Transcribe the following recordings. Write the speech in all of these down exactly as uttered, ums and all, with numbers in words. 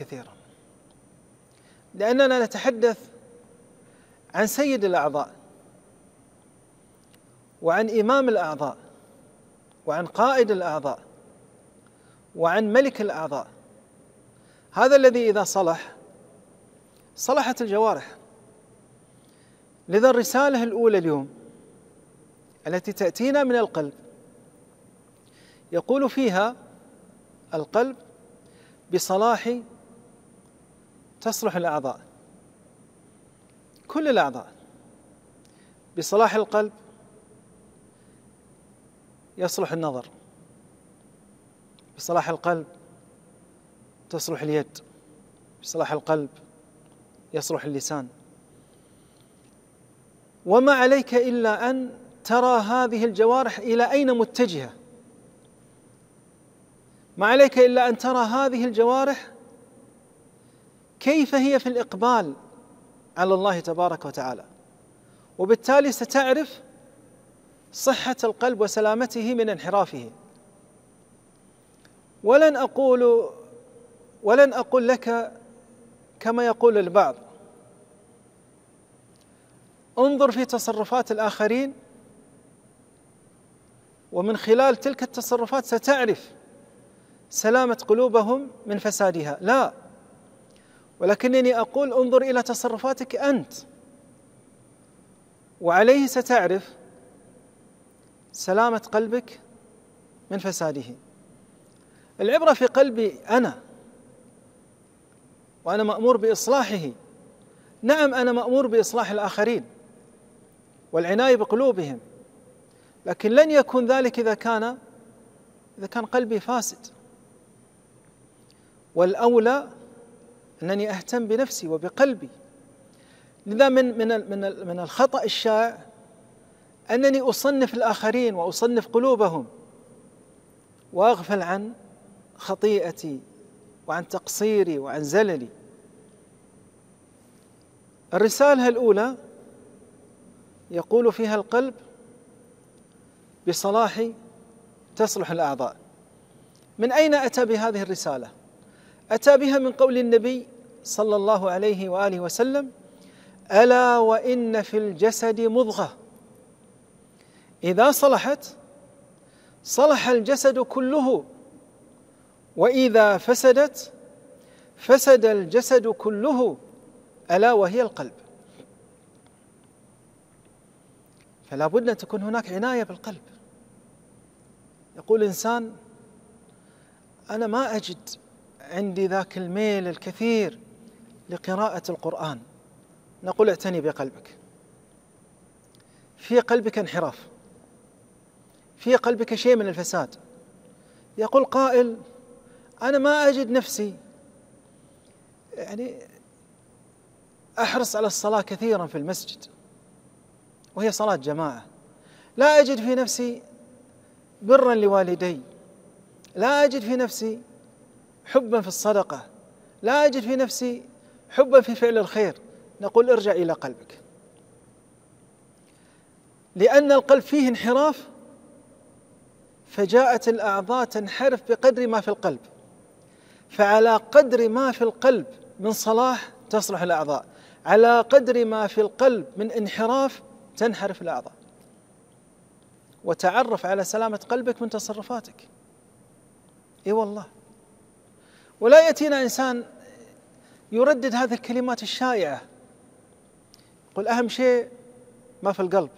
كثيرا، لأننا نتحدث عن سيد الأعضاء وعن إمام الأعضاء وعن قائد الأعضاء وعن ملك الأعضاء، هذا الذي إذا صلح صلحت الجوارح. لذا الرسالة الأولى اليوم التي تأتينا من القلب يقول فيها القلب بصلاح تصلح الأعضاء، كل الأعضاء. بصلاح القلب يصلح النظر، بصلاح القلب تصلح اليد، بصلاح القلب يصلح اللسان. وما عليك إلا أن ترى هذه الجوارح إلى أين متجهة، ما عليك إلا أن ترى هذه الجوارح كيف هي في الإقبال على الله تبارك وتعالى، وبالتالي ستعرف صحة القلب وسلامته من انحرافه. ولن أقول ولن أقول لك كما يقول البعض انظر في تصرفات الآخرين ومن خلال تلك التصرفات ستعرف سلامة قلوبهم من فسادها، لا، ولكنني أقول انظر إلى تصرفاتك أنت، وعليه ستعرف سلامة قلبك من فساده. العبرة في قلبي أنا، وأنا مأمور بإصلاحه. نعم، أنا مأمور بإصلاح الآخرين والعناية بقلوبهم، لكن لن يكون ذلك إذا كان إذا كان قلبي فاسد. والأولى أنني أهتم بنفسي وبقلبي. لذا من من من من الخطأ الشائع أنني أصنف الآخرين وأصنف قلوبهم وأغفل عن خطيئتي وعن تقصيري وعن زللي. الرسالة الأولى يقول فيها القلب بصلاح تصلح الأعضاء. من أين أتى بهذه الرسالة؟ أتى بها من قول النبي صلى الله عليه وآله وسلم: ألا وإن في الجسد مضغة إذا صلحت صلح الجسد كله، وإذا فسدت فسد الجسد كله، ألا وهي القلب. فلا بد أن تكون هناك عناية بالقلب. يقول إنسان: أنا ما أجد عندي ذاك الميل الكثير لقراءة القرآن. نقول: اعتني بقلبك، في قلبك انحراف، في قلبك شيء من الفساد. يقول قائل: أنا ما أجد نفسي يعني أحرص على الصلاة كثيرا في المسجد وهي صلاة جماعة، لا أجد في نفسي برا لوالدي، لا أجد في نفسي حبا في الصدقة، لا أجد في نفسي حبا في فعل الخير. نقول: ارجع إلى قلبك، لأن القلب فيه انحراف، فجاءت الأعضاء تنحرف بقدر ما في القلب، فعلى قدر ما في القلب من صلاح تصلح الأعضاء، على قدر ما في القلب من انحراف تنحرف الأعضاء. وتعرف على سلامة قلبك من تصرفاتك. إي والله. ولا يأتينا إنسان يردد هذه الكلمات الشائعة، يقول: أهم شيء ما في القلب،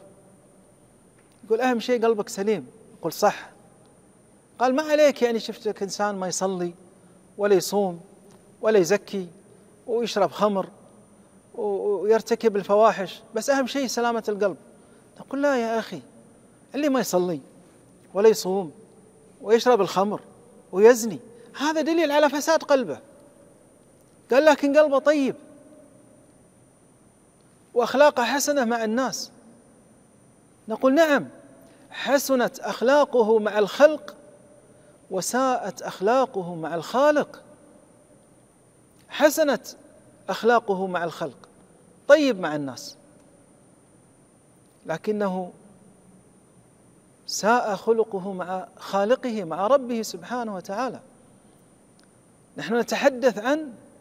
يقول: أهم شيء قلبك سليم. يقول: صح. قال: ما عليك يعني شفتك إنسان ما يصلي ولا يصوم ولا يزكي ويشرب خمر ويرتكب الفواحش، بس أهم شيء سلامة القلب. نقول: لا يا أخي، اللي ما يصلي ولا يصوم ويشرب الخمر ويزني هذا دليل على فساد قلبه. قال: لكن قلبه طيب وأخلاقه حسنة مع الناس. نقول: نعم، حسنت أخلاقه مع الخلق وساءت أخلاقه مع الخالق. حسنت أخلاقه مع الخلق، طيب مع الناس، لكنه ساء خلقه مع خالقه، مع ربه سبحانه وتعالى. نحن نتحدث عن